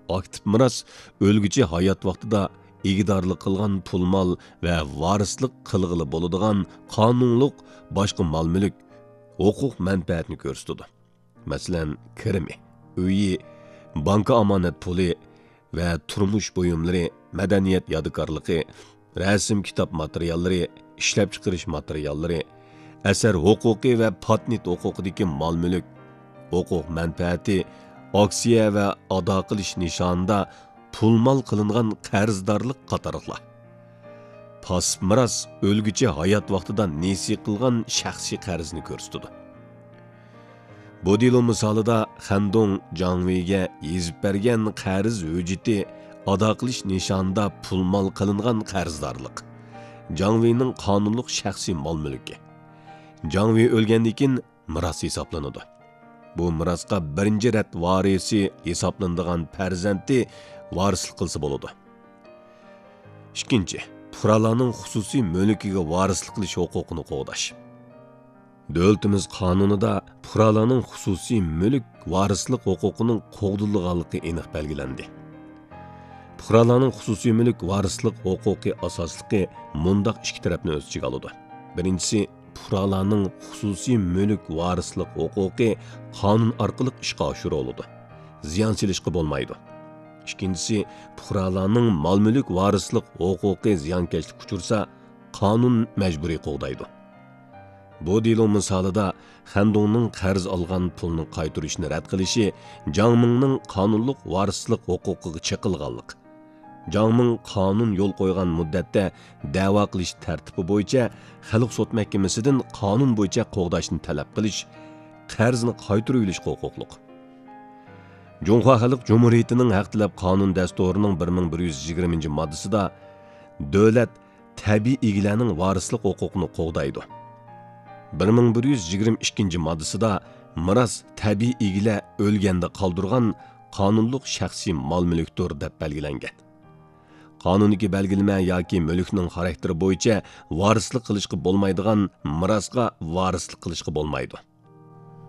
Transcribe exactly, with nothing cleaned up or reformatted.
ئاكتىپ مىراس ئۆلگۈچى ھايات ۋاقتىدا ئىگىدارلىق قىلغان پۇل-مال ۋە ۋارىسلىق قىلغىلى بولىدىغان قانۇنلۇق باشقا مال-مۈلۈك، ھوقۇق مەنپەئەتنى كۆرسىتىدۇ. مەسىلەن، كىرىمى، ئۆيى، بانكا ئامانەت پۇلى ۋە تۇرمۇش بۇيۇملىرى، مەدەنىيەت يادىكارلىقى، رەسىم-كىتاب ماتېرىياللىرى، ئىشلەپچىقىرىش ماتېرىياللىرى، ئەسەر ھوقۇقى ۋە پاتېنت ھوقۇقىدىكى مال-مۈلۈك، ھوقۇق مەنپەئەتى، ئاكسىيە ۋە ئادا قىلىش نىشانىدا پۇل-مال قىلىنغان قەرزدارلىق قاتارلىقلار. پاسسىپ مىراس ئۆلگۈچى ھايات ۋاقتىدا نېسى قىلغان شەخسىي قەرزنى كۆرسىتىدۇ. بۇ دېلو مىسالىدا خەندۇڭ جاڭۋېيگە يېزىپ بەرگەن قەرز ھۆججىتى ئادا قىلىش نىشانىدا پۇل-مال قىلىنغان قەرزدارلىق. جاڭۋېينىڭ قانۇنلۇق شەخسىي مال-مۈلكى. جاڭۋېي ئۆلگەندىن كېيىن مىراس ھېسابلىنىدۇ. بۇ مىراسقا بىرىنچى رەت ۋارىسى ھېسابلىنىدىغان پەرزەنتى ۋارىسلىق قىلسا بولىدۇ. ئىككىنچى، پۇقرالارنىڭ خۇسۇسىي مۈلكىگە ۋارىسلىق قىلىش ھوقۇقىنى قوغداش. دۆلىتىمىز قانۇنىدا پۇقرالارنىڭ خۇسۇسىي مۈلۈك ۋارىسلىق ھوقۇقىنىڭ قوغدىلىدىغانلىقى ئېنىق بەلگىلەندى. پۇقرالارنىڭ خۇسۇسىي مۈلۈك ۋارىسلىق ھوقۇقى ئاساسلىقى مۇنداق ئىككى تەرەپنى ئۆز ئىچىگە ئالىدۇ. بىرىنچىسى، پۇقرالارنىڭ خۇسۇسىي مۈلۈك ۋارىسلىق ھوقۇقى قانۇن ئارقىلىق ئىشقا ئاشۇرۇلىدۇ. زىيان سېلىشقا بولمايدۇ. ئىككىنچىسى، پۇقرالارنىڭ مال-مۈلۈك ۋارىسلىق ھوقۇقى زىيانكەشلىككە ئۇچرىسا، قانۇن مەجبۇرىي قوغدايدۇ. بۇ دېلو مىسالىدا خەندۇڭنىڭ قەرز ئالغان پۇلنى قايتۇرۇشنى رەت قىلىشى جاڭ مىڭنىڭ قانۇنلۇق ۋارىسلىق ھوقۇقىغا چېقىلغانلىق. جاڭ مىڭ قانۇن يول قويغان مۇددەتتە دەۋا قىلىش تەرتىپى بويىچە خەلق سوت مەھكىمىسىدىن قانۇن بويىچە قوغداشنى تەلەپ قىلىش، قەرزنى قايتۇرۇۋېلىشقا ھوقۇقلۇق. جۇڭخۇا خەلق جۇمھۇرىيىتىنىڭ ھەق تەلەپ قانۇن دەستۇرىنىڭ بىر مىڭ بىر يۈز يىگىرمىنچى ماددىسىدا دۆلەت تەبىئىي ئىگىلەرنىڭ ۋارىسلىق ھوقۇقىنى قوغدايدۇ. بىر مىڭ بىر يۈز يىگىرمە ئىككىنچى ماددىسىدا مىراس تەبىئىي ئىگىلەر ئۆلگەندە قالدۇرغان قانۇنلۇق شەخسىي مال-مۈلۈكتۇر دەپ بەلگىلەنگەن. قانۇندىكى بەلگىلىمە ياكى مۈلۈكنىڭ خاراكتېرى بويىچە ۋارىسلىق قىلىشقا بولمايدىغان مىراسقا ۋارىسلىق قىلىشقا بولمايدۇ.